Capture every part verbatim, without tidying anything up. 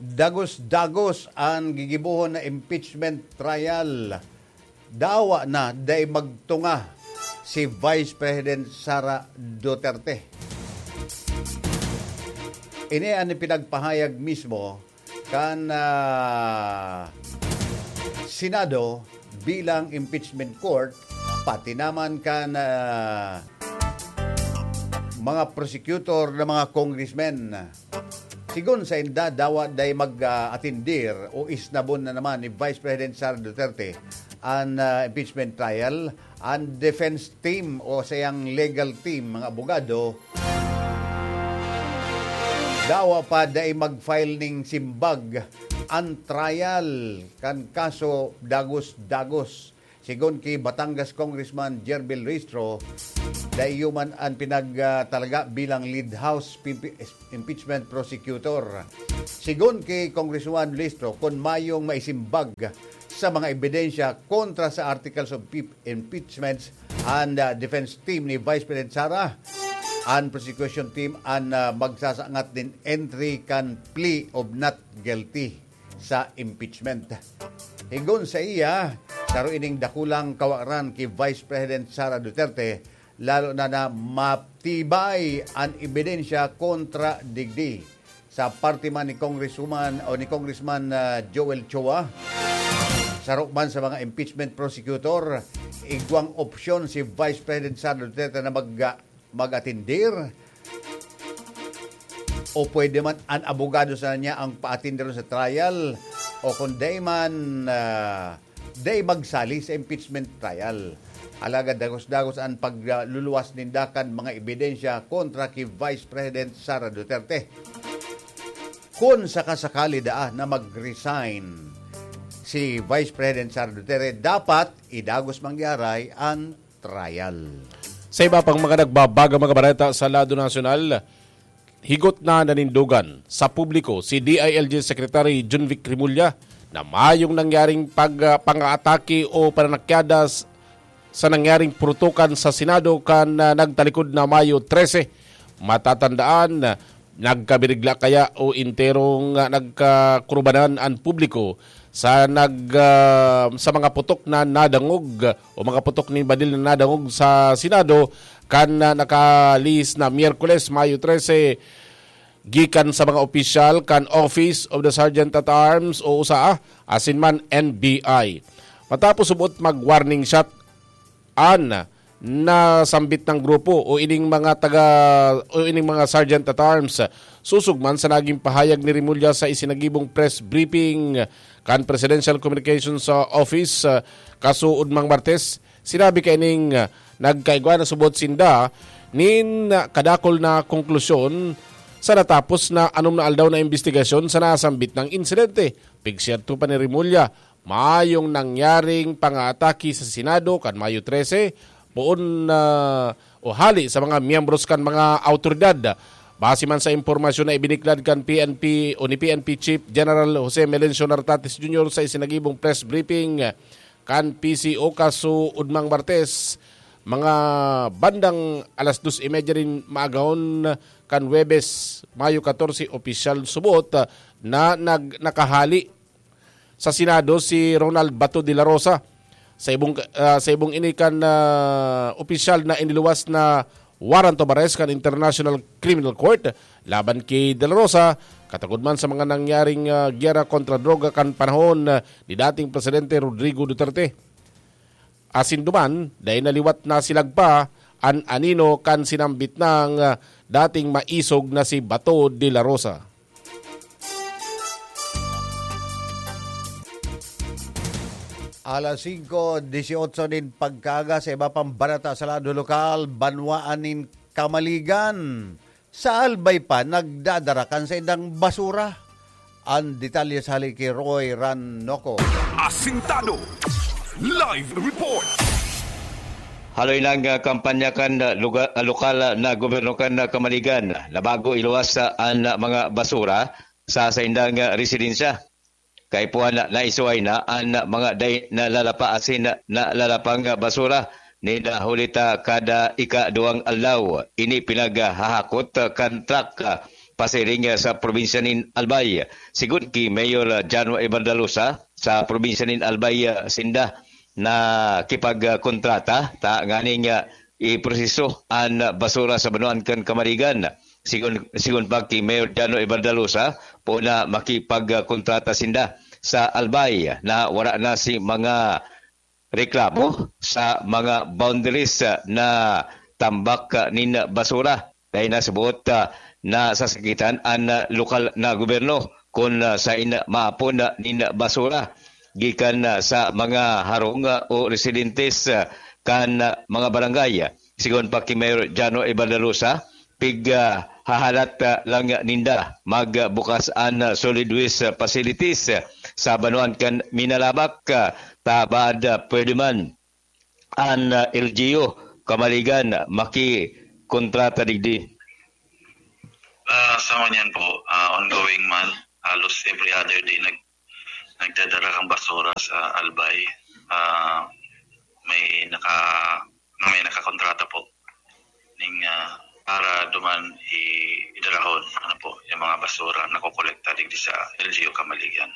Dagos-dagos an gigibohon na impeachment trial. Dawa na dai magtunga si Vice President Sara Duterte. Ini an ipinagpahayag mismo kan, ah, Senado bilang impeachment court, pati naman kan, ah, mga prosecutor na mga congressmen. Sigon sainda, dawa dai mag, ah, atindir o isnabon na naman ni Vice President Sara Duterte an, ah, impeachment trial. An defense team o sayang legal team, mga abogado, dawa pa dai mag-file ning simbag an trial kan kaso dagos-dagos. Sigon ki Batangas Congressman Gerbil Ristro, dai iyo man an pinagtalaga bilang lead house pimpi-, impeachment prosecutor. Sigon ki Congressman Ristro, kun mayong maisimbag sa mga ebidensya kontra sa articles of impe-, impeachments and, uh, defense team ni Vice President Sara, an prosecution team an, uh, magsasangat nin entry kan plea of not guilty sa impeachment. Higon sa iya, saro ining dakulang kawaran ki Vice President Sara Duterte, lalo na na matibay an ebidensya kontra digdi. Sa parte man ni Congresswoman o ni Congressman, ah, Joel Chua, saro man sa mga impeachment prosecutor, igwang opsyon si Vice President Sara Duterte na mag-, mag-atindir o pwede man an abogado sana niya ang paatindiron sa trial o kung dai man, ah, dai magsali sa impeachment trial. Alagad dagos-dagos an pagluluwas ninda kan mga ebidensya kontra ki Vice President Sara Duterte. Kun sakasakali daa na mag-resign si Vice President Sara Duterte, dapat idagos mangyari an trial. Sa iba pang mga nagbabagang mga bareta sa lado nasyonal, higot na nanindogan sa publiko si D I L G Secretary Jonvic Remulla na mayong nangyaring pag-, ah, pang-aatake o pananakyada s-, sa nangyaring purutukan sa Senado kan, ah, nagtalikod na Mayo trese. Matatandaan, nagkabirigla kaya o enterong, ah, nagkakurbanan an publiko sa nag-, ah, sa mga putok na nadangog o mga putok nin baril na nadangog sa Senado kan, ah, nakalihis na Miyerkules, Mayo trese, gikan sa mga opisyal kan Office of the Sergeant at Arms o usa, asin man N B I. Matapos subot mag-warning shot an nasambit na grupo o ining mga taga, o ining mga sergeant at arms. Sosog man sa naging pahayag ni Remulla sa isinagibong press briefing kan Presidential Communications, ah, Office, ah, kasuodmang Martes, sinabi kaining, ah, nagkaigwa na subot sinda nin kadakul na konklusyon sa natapos na anom na aldaw na imbestigasyon sa nasambit na insidente. Pigsyerto pa ni Remulla, mayong nangyaring pangaatake sa Senado kan Mayo trese, poon na o hali sa mga miyembros kan mga awtoridad. Base man sa impormasyon na ibiniklad kan P N P o ni P N P Chief General Jose Melencio Nartates Junior sa isinagibong press briefing kan P C O kasuodmang Martes, mga bandang alas dos y media nin maagahon kan Huwebes, Mayo katorse, opisyal subot na nag-, nakahali sa Senado si Ronald Bato de la Rosa. Sa ibong, ah, sa ibong ini kan, ah, opisyal na iniluwas na warrant of arrest kan International Criminal Court laban ki De La Rosa, katagod man sa mga nangyaring, ah, giyera kontra droga kan panahon, ah, ni dating Presidente Rodrigo Duterte. Asin duman, dai na liwat nasilagpa an anino kan sinambit nang, ah, dating maisog na si Bato de la Rosa. Alas singko dieciocho nin pagkaaga, sa iba pang bareta sa lado lokal, banwaan nin Kamaligan. Sa Albay pa, nagdadara kan saindang basura. An detalye sa hali ki Roy Ranoco. Asintado. Live report. Haloy nang, ah, kampanya kan, ah, luga-, ah, lokal, ah, na gobyerno kan, ah, Kamaligan na bago iluwas, ah, an, ah, mga basura sa saindang, ah, residensya. Kaipuhan na naisuhay na an, ah, mga dai nalalapa asin nalalapang, ah, basura nin, ah, huli ta kada ikaduwang aldaw. Ini pinaghahakot, ah, kan truck, ah, pasiring, ah, sa probinsya nin Albay. Sigon ki Mayor, ah, Jano Evardalosa, sa probinsya nin Albay, ah, sinda nakipagkontrata ta nganing, ah, iproseso an basura sa banwaan kan Camarigan. Sigon, sigon pa ki Mayor Jano Evardalosa, poon na makipagkontrata sinda sa Albay na wara na si mga reklamo sa mga boundaries, ah, na tambak, ah, nin basura. Dai na sa buot, ah, nasasakitan an, ah, lokal na gobyerno kun, ah, saen maapon, ah, nin basura gikan, ah, sa mga harong, ah, o residentes, ah, kan, ah, mga barangay. Sigon pa ki Mayor Jano Evardalosa, pig, ah, hahalat, ah, lang ninda magbukas an, ah, solid waste, ah, facilities, ah, sa banwaan kan Minalabac, ah, ta baad, ah, pwede man an, ah, L G U Camarigan makikontrata digdi. Ah, sa ngunyan po, ah, ongoing man, halos every other day nag-, nagdadara kang basura sa Albay. Ah, may naka-, may nakakontrata po ning, ah, para duman i-, idarahon, ano po, yung mga basura na kokolekta digdi sa L G U Camarigan.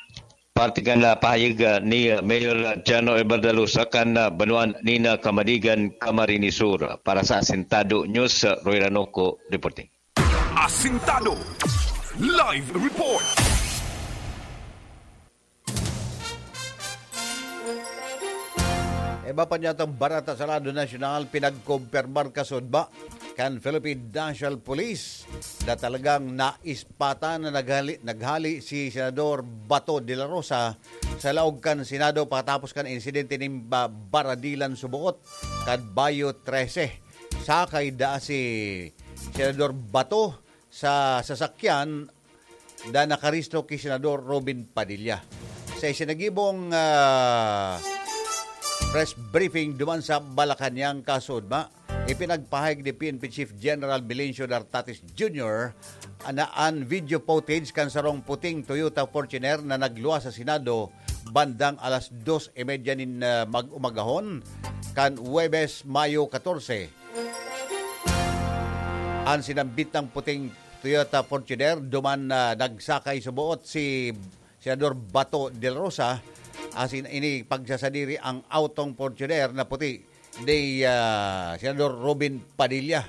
Parte kan, ah, pahayag, ah, ni Mayor Jano Evardalosa kan, ah, banwaan nin, ah, Camarigan, Camarines Sur. Para sa Asintado News, ah, Roy Ranoco reporting. Asintado Live Report. Iba pa niya itong Barata sa Radyo Nasyonal, pinagkumpirmar kasudba kan Philippine National Police na talagang naispatan na naghali, naghali si Senador Bato de la Rosa sa laog kan Senado pakatapos kan insidente nin ba-, baradilan suboot kan Bayo trese. Sakay daa si Senador Bato sa sasakyan na nakarehistro ki Senador Robin Padilla. Sa isinagibong, ah, press briefing duman sa Malacañang kasudma, ipinagpahayag ni P N P Chief General Melencio Dartatis Junior na an video footage kan sarong puting Toyota Fortuner na nagluwas sa Senado bandang alas dos y media nin, ah, mag-umagahon kan Huwebes, Mayo katorse. An sinambit nang puting Toyota Fortuner, duman na nagsakay suboot si Senador Bato de la Rosa, asin ini pagsasadiri ang autong Fortuner na puti ni, ah, Senador Robin Padilla.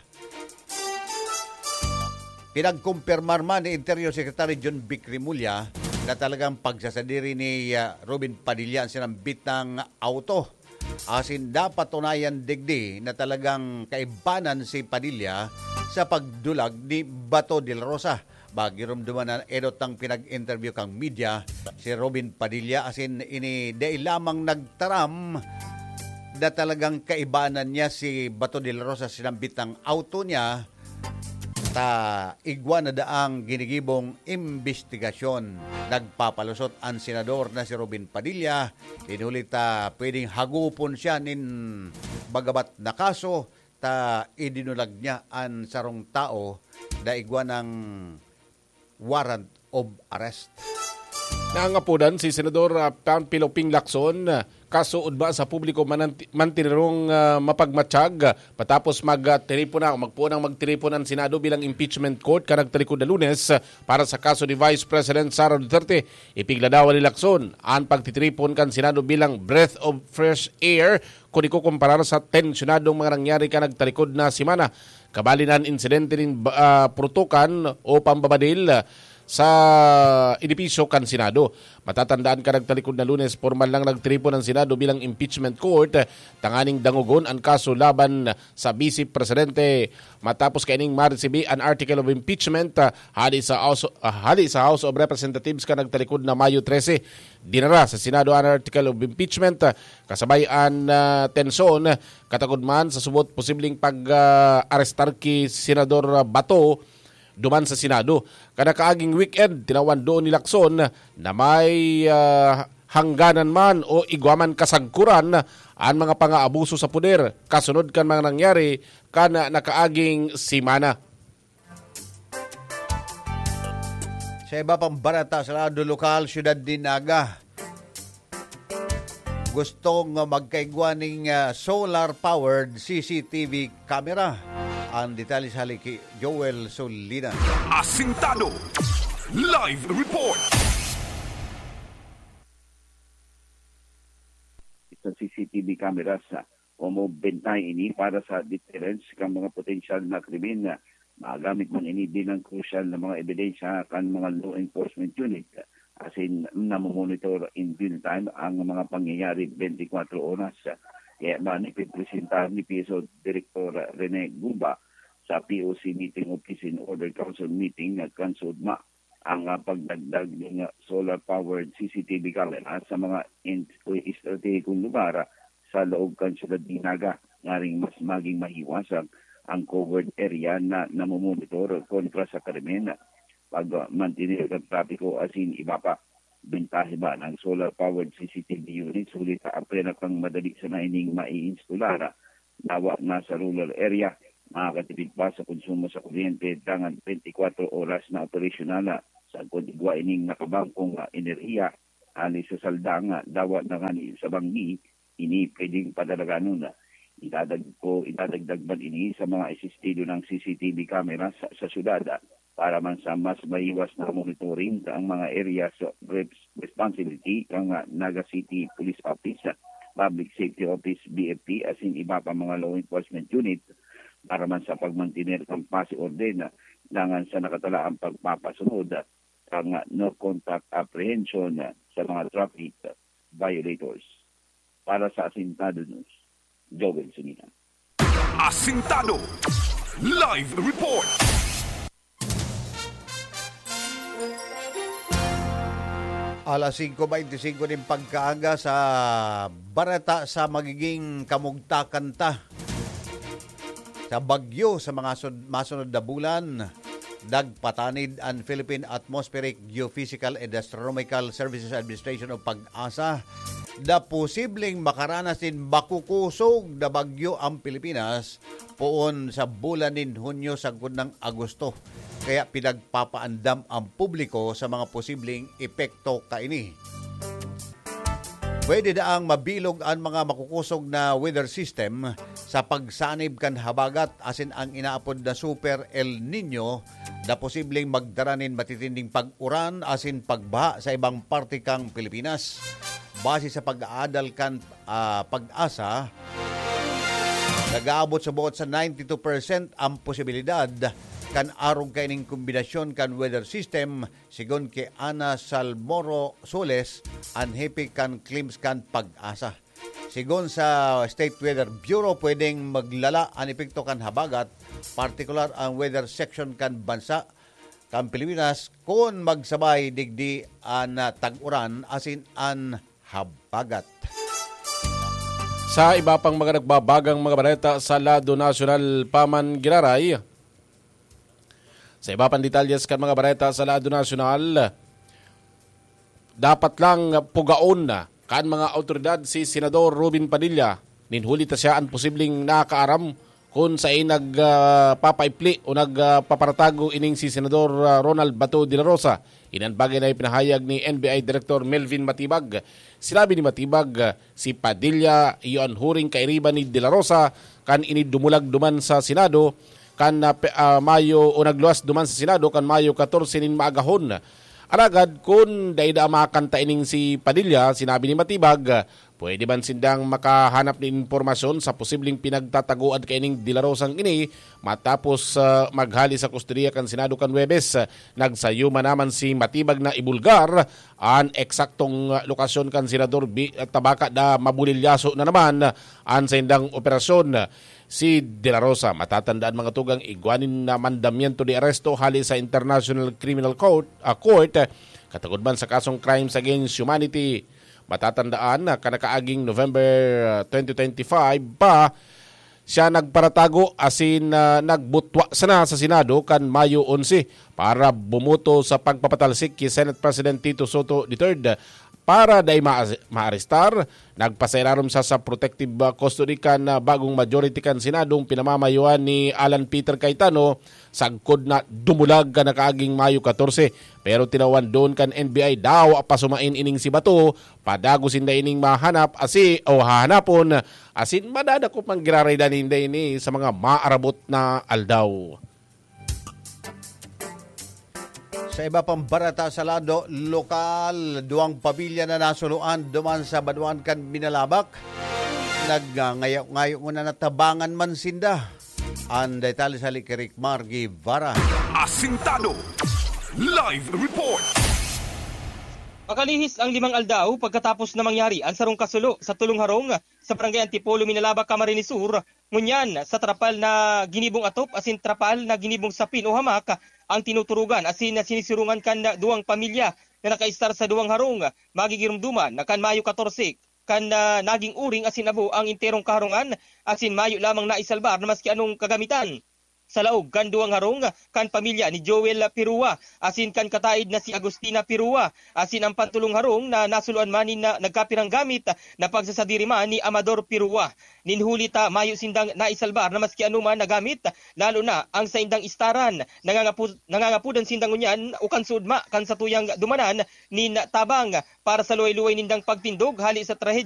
Pinagkumpirmar man ni Interior Secretary John Vic Remulla na talagang pagsasadiri ni, ah, Robin Padilla ang sinambit na auto. Asin napatunayan digdi na talagang kaibanan si Padilla sa pagdulag ni Bato de la Rosa. Magiromdoman na enot ang pinag-interview kang media si Robin Padilla, asin ini dai lamang nagtaram na talagang kaibanan niya si Bato de la Rosa sinambit ang auto niya, ta igwa na daang ginigibong imbestigasyon. Nagpapalusot an senador na si Robin Padilla, nin huli ta pwedeng hagupon siya nin magabat na kaso, ta idinulag niya an sarong tao na igwa ng warrant of arrest. Nangapodan si Senador, ah, Panfilo Ping Lacson, ah, kaso ugma sa publiko mananti-, mantirong, ah, mapagmatiyag, ah, matapos mag, ah, tiripon na o magpoon ang magtiripon ang Senado bilang impeachment court kan nagtalikod na Lunes, ah, para sa kaso ni Vice President Sara Duterte. Ipigladawan ni Lacson an pagtitiripon kan Senado bilang breath of fresh air kun ikukumparar sa tensyonadong mga nangyari kan nagtalikod na semana. Kabali na an insidente nin ba-, ah, purutukan o pambabadil sa edipisyo kan Senado. Matatandaan kan nagtalikod na Lunes, pormal nang nagtiripon ang Senado bilang impeachment court, tanganing dangogon an kaso laban sa Vice Presidente. Matapos kaining maresibi an article of impeachment, ah, hali sa House, ah, hali sa House of Representatives kan nagtalikod na Mayo trese, dinara sa Senado an article of impeachment, ah, kasabay an, ah, tensyon, katagod man sa subot posibleng pag, ah, arestar ki Senador Bato duman sa Senado. Kada kaaging weekend, tinawan doon ni Lacson na may, ah, hangganan man o igwa man kasagkoran an mga pangaabuso sa poder kasunod kan mga nangyari kan nakaaging semana. Sa iba pang barata sa lado lokal, Siyudad nin Naga, gustong magkaigwa ning, ah, solar-powered C C T V camera Ang detalye sa hali ki Joel Solinas. Asintado. Live report. Sa C C T V cameras, ah, o mo bentahe ini para sa deterrence kan mga potensyal na krimen. Magamit man ini bilang crucial na mga ebidensya kan mga law enforcement unit, asin namomonitor in real time ang mga pangyayari twenty-four oras. Kaya man, ipipresenta ni P S O Director Rene Gumba sa P O C meeting o Peace and Order Council meeting kan SODMA ang, ah, pagdagdag ning, ah, solar-powered C C T V camera sa mga in-, estratehikong lugar sa laog kan siyudad nin Naga, ngaring mas maging mahiwasan ang covered area na namomonitor kontra sa krimen, pagmantener kan trapiko asin iba pa. Bentahe man ang solar-powered C C T V units huli ta apwera pang madali sana ining maiinstolar, dawa na sa rural area, makakatipid pa sa konsumo sa kuryente dangan twenty-four oras na operasyonal. Sagkod igwa ining nakabangkong, ah, enerhiya hali sa saldang, ah, dawa na ngani sa banggi, ini pwedeng padalaganon. Idadag ko, idadagdag man ini sa mga isistido ng C C T V cameras sa, sa syudad, ah, para man sa mas mahiwas na monitoring sa ang mga areas of res-, responsibility kan, ah, Naga City Police Office, ah, Public Safety Office, B F P, asin iba pa mga law enforcement unit para man sa pagmantener kan pasi orden, ah, dangan sa nakatalaang pagpapasunod, ah, kan, ah, no contact apprehension, ah, sa mga traffic, ah, violators. Para sa Asintado News, Joel Sinihan. Asintado Live Report. Alas singko beinti singko nin pagkaaga sa bareta sa magiging kamugtakan ta. Sa bagyo sa mga sud-, masunod na bulan, nagpatanid an Philippine Atmospheric Geophysical and Astronomical Services Administration o PAGASA na posibleng makaranas nin makukusog na bagyo ang Pilipinas poon sa bulan nin Hunyo sagkod nang Agosto. Kaya pinagpapaandam ang publiko sa mga posibleng epekto kaini. Pwede daang mabilog an mga makukusog na weather system sa pagsanib kan habagat asin ang inaapod na Super El Niño na posibleng magdara nin matitinding pag-uran asin pagbaha sa ibang parte kan Pilipinas. Base sa pag-aadal kan, ah, PAGASA, nag-aabot sa buot sa ninety-two percent ang posibilidad kan arog kaining kombinasyon kan weather system, sigon ki Ana Salmoro Soles, an hepe kan CLIMS kan PAGASA. Sigon sa State Weather Bureau, pwedeng maglala an epekto kan habagat, partikular an weather section kan bansa kan Pilipinas, kun magsabay digdi an, ah, tag-uran asin an habagat. Sa iba pang mga nagbabagang mga bareta sa lado nasyonal pa man giraray, sa iba pang detalyes kan mga bareta sa lado nasyonal, dapat lang pugaon na kan mga awtoridad si Senador Robin Padilla, nin huli ta siya an posibleng nakaaram kun saen nag, ah, papaipli o nag, ah, paparatago ining si Senador, ah, Ronald Bato de la Rosa. Ini an bagay na ipinahayag ni N B I Director Melvin Matibag. Sinabi ni Matibag, ah, si Padilla iyo an huring kairiba ni De La Rosa kan ini dumulag duman sa Senado kan, ah, pe-, ah, Mayo o nagluwas duman sa Senado kan Mayo katorse nin maagahon. Alagad kun dai daa makanta ining si Padilla, sinabi ni Matibag, pwede man sindang makahanap nin impormasyon sa posibleng pinagtatagoan kaining De La Rosang ini matapos, ah, maghali sa kustodiya kan Senado kan Huwebes. Nagsayo man naman si Matibag na ibulgar an eksaktong, ah, lokasyon kan Senador Bi-, Tabaka na mabulilyaso na naman an saindang operasyon. Si De La Rosa, matatandaan mga tugang, igwa nin na mandamiento de aresto hali sa International Criminal Court, ah, Court, katagod man sa kasong crimes against humanity. Matatandaan na kanakaaging November, ah, twenty twenty-five pa, siya nagparatago asin, ah, nagbutwa sana sa Senado kan Mayo onse para bumoto sa pagpapatalsik ki Senate President Tito Sotto the third. Para dai ma-, maarestar, nagpasairarom sa, sa protective, ah, custody kan, ah, bagong majority kan Senadong pinamamayoan ni Alan Peter Cayetano, sagkod na dumulag kan nakaaging Mayo katorse. Pero tinawan doon kan N B I daw pasumain ining si Bato, padagosin na ining mahanap asi o hahanapon, asin madadakop man giraray danin ini sa mga maarabot na aldaw. Sa iba pang barata sa lado lokal, duwang pamilya na nasuluan duman sa banwaan kan Binalabak. Nagngayo-ngayo muna na tabangan man sinda. Ang detalye sa Likirik Mar Guevara. Asintado. Live report. Makalihis ang limang aldaw pagkatapos na mangyari ang sarong kasulo sa tulong harong sa Barangay Antipolo, Minalaba, Camarines Sur, ngunyan sa trapal na ginibong atop asin trapal na ginibong sapin o hamak ang tinuturugan asin na sinisirongan kan duwang pamilya na nakaistar sa duwang harong. Magigirumduman na kan Mayo katorse kan, ah, naging uring asin abo ang enterong kaharungan asin mayo lamang naisalbar na maski anong kagamitan. Sa laog kan duwang harong kan pamilya ni Joel Pirua asin kan kataid na si Agustina Pirua asin ang pantulong harong na nasuluan man nin na nagkapirang gamit na pagsasadiri man ni Amador Pirua. Nin huli ta mayo sindang naisalbar na maski anoman na gamit, lalo na ang saindang istaran. Nangangapu-, nangangapudan sinda ngunyan o kan suodma kan satuyang dumanan nin tabang para sa luway-luway nindang pagtindog hali sa trahedya